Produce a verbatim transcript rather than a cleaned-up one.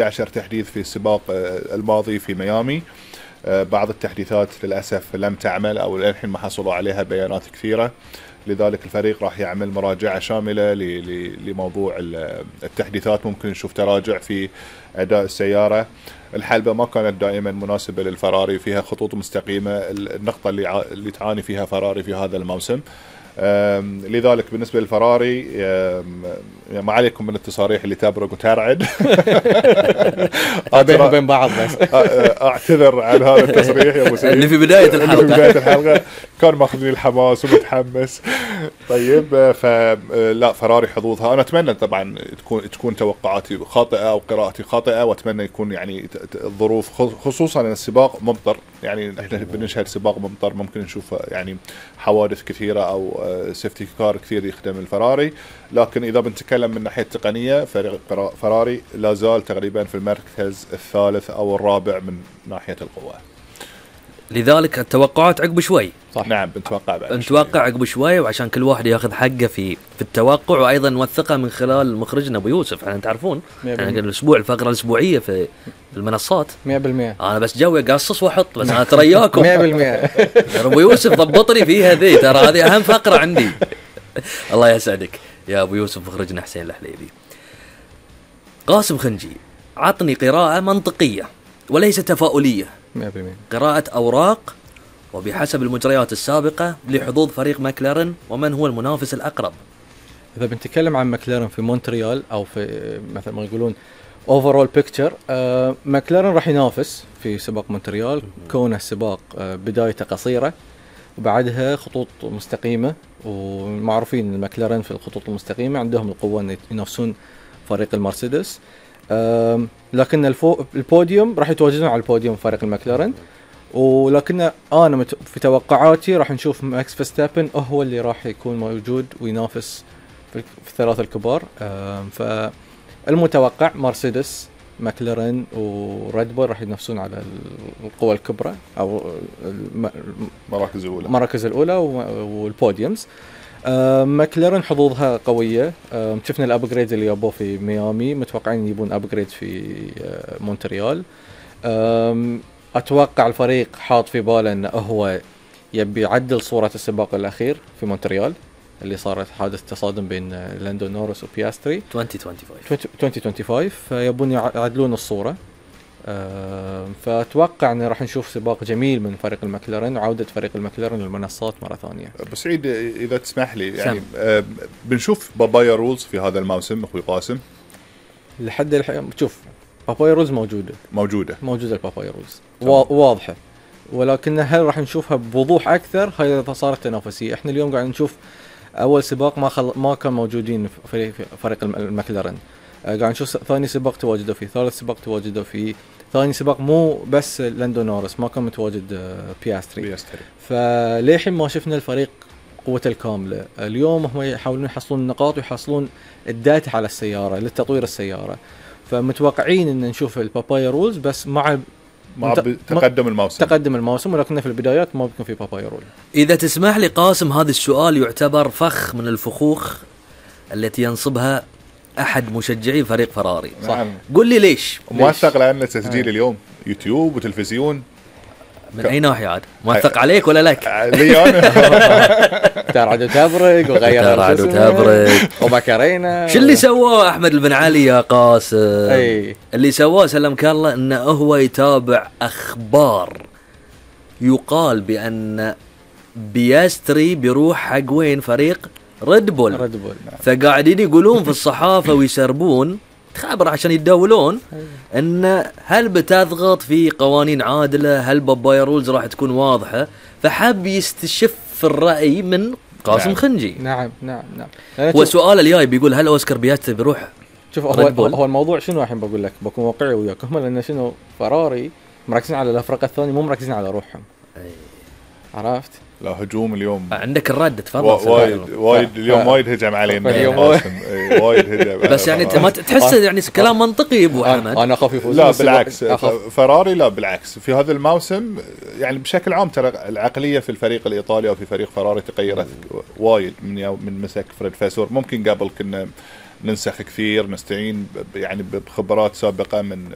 عشر تحديث في السباق الماضي في ميامي. بعض التحديثات للأسف لم تعمل أو للحين ما حصلوا عليها بيانات كثيرة، لذلك الفريق راح يعمل مراجعة شاملة لموضوع التحديثات. ممكن نشوف تراجع في أداء السيارة. الحلبة ما كانت دائما مناسبة للفراري، فيها خطوط مستقيمة، النقطة اللي اللي تعاني فيها فراري في هذا الموسم. لذلك بالنسبة للفراري ما عليكم من التصاريح اللي تبرق وترعد. بينهم وبين بعض بس اعتذر عن هذا التصريح يا ابو سعيد اللي في بداية الحلقة. في بداية الحلقة كان ماخذني الحماس ومتحمس. طيب فلا فراري حظوظها، انا اتمنى طبعا تكون تكون توقعاتي خاطئة او قراءتي خاطئة، واتمنى يكون يعني الظروف خصوصا ان السباق ممطر، يعني احنا بنشهد سباق ممطر ممكن نشوف يعني حوادث كثيرة او سيفتي كار كثير يخدم الفراري. لكن اذا بنتكلم من ناحية تقنية فريق فراري لا زال تقريبا في المركز الثالث او الرابع من ناحية القوة. لذلك التوقعات عقب شوي. صح. نعم بنتوقع بعد نتوقع عقب شوي، وعشان كل واحد ياخذ حقه في في التوقع، وايضا نوثقه من خلال مخرجنا ابو يوسف. احنا تعرفون احنا الاسبوع الفقره الاسبوعيه في المنصات مية بالمية. انا بس جوي قاصص واحط، بس انا ترياكم مية بالمية. ابو يوسف ضبطني فيها ذي، ترى هذه اهم فقره عندي. الله يسعدك يا ابو يوسف مخرجنا حسين الحليبي. قاسم خنجي، عطني قراءه منطقيه وليس تفاؤليه، مية بالمية قراءة أوراق وبحسب المجريات السابقة لحظوظ فريق ماكلارن، ومن هو المنافس الأقرب. إذا بنتكلم عن ماكلارن في مونتريال أو في مثل ما يقولون overall picture، آه ماكلارن راح ينافس في سباق مونتريال، كونه السباق آه بدايته قصيرة وبعدها خطوط مستقيمة، ومعروفين الماكلارن في الخطوط المستقيمة عندهم القوة أن ينافسون فريق المرسيدس. آه لكن الفو البوديوم راح يتواجدون على البوديوم فريق الماكلارن، ولكن انا في توقعاتي راح نشوف ماكس فيرستابن هو اللي راح يكون موجود وينافس في الثلاثه الكبار. فالمتوقع مرسيدس ماكلارن وريد بول راح ينافسون على القوى الكبرى او المراكز الاولى المراكز الاولى والبوديومز. آه ماكلارن حظوظها قوية. آه شفنا الابجريد اللي يابوه في ميامي، متوقعين يبون ابجريد في آه مونتريال. آه اتوقع الفريق حاط في باله انه هو يبي يعدل صورة السباق الاخير في مونتريال اللي صارت حادث تصادم بين لاندو نورس وبياستري ألفين وخمسة وعشرين ألفين وخمسة وعشرين، فيبون يعدلون الصورة. أه فأتوقع أن راح نشوف سباق جميل من فريق الماكلارن وعودة فريق الماكلارن للمنصات مرة ثانية. بس عيد إذا تسمح لي يعني أه بنشوف بابايا رولز في هذا الموسم أخوي قاسم لحد الحين. شوف بابايا رولز موجودة موجودة موجودة البابايا رولز واضحة، ولكن هل راح نشوفها بوضوح أكثر؟ هاي صارت تنافسية. إحنا اليوم قاعد نشوف أول سباق ما خل... ما كان موجودين في فريق الماكلارن، قاعد نشوف ثاني سباق تواجدوا فيه، ثالث سباق تواجدوا فيه، ثاني سباق مو بس لاندو نورس ما كان متواجد بياستري, بياستري. فليحين ما شفنا الفريق قوته الكاملة. اليوم هم يحاولون يحصلون النقاط ويحصلون الداتا على السيارة للتطوير السيارة، فمتوقعين ان نشوف البابايا رولز بس مع مع تقدم الموسم تقدم الموسم ولكن في البدايات ما بيكون في بابايا رول. إذا تسمح لي قاسم، هذا السؤال يعتبر فخ من الفخوخ التي ينصبها أحد مشجعي فريق فراري. صح. قل لي ليش موثق لأن تسجيل آه. اليوم يوتيوب وتلفزيون من أي ناحية عاد؟ موثق عليك ولا لك؟ لي أنا. ترعد وتبرق وغير ترعد وتبرق ومكرينا. شو اللي سواه أحمد البنعالي يا قاسم؟ أي. اللي سواه سلمك الله إنه هو يتابع أخبار يقال بأن بياستري بيروح حق وين فريق ريد بول. ريد بول. فقاعدين يقولون في الصحافة ويسربون خبر عشان يتداولون ان هل بتضغط في قوانين عادلة، هل بابايا رولز راح تكون واضحة، فحب يستشف الرأي من قاسم نعم. خنجي. نعم نعم نعم. والسؤال الجاي بيقول هل اوسكار بياستري بيروح؟ شوف هو, هو الموضوع شنو الحين بقول لك بكون واقعي وياك، هم لان شنو فراري مركزين على الافرقة الثانية مو مركزين على روحهم. أي. عرفت؟ لا هجوم اليوم عندك الرد تفضل. وايد وايد اليوم وايد هجم علينا اليوم وايد هجم. بس يعني انت ما تحس يعني كلام منطقي ابو حمد؟ انا اخاف يفوز. لا بالعكس فراري لا بالعكس في هذا الموسم يعني بشكل عام ترى العقليه في الفريق الايطالي او في فريق فراري تغيرت وايد من من مسك فريد فاسور. ممكن قبل كنا ننسخ كثير، نستعين ب- يعني بخبرات سابقة من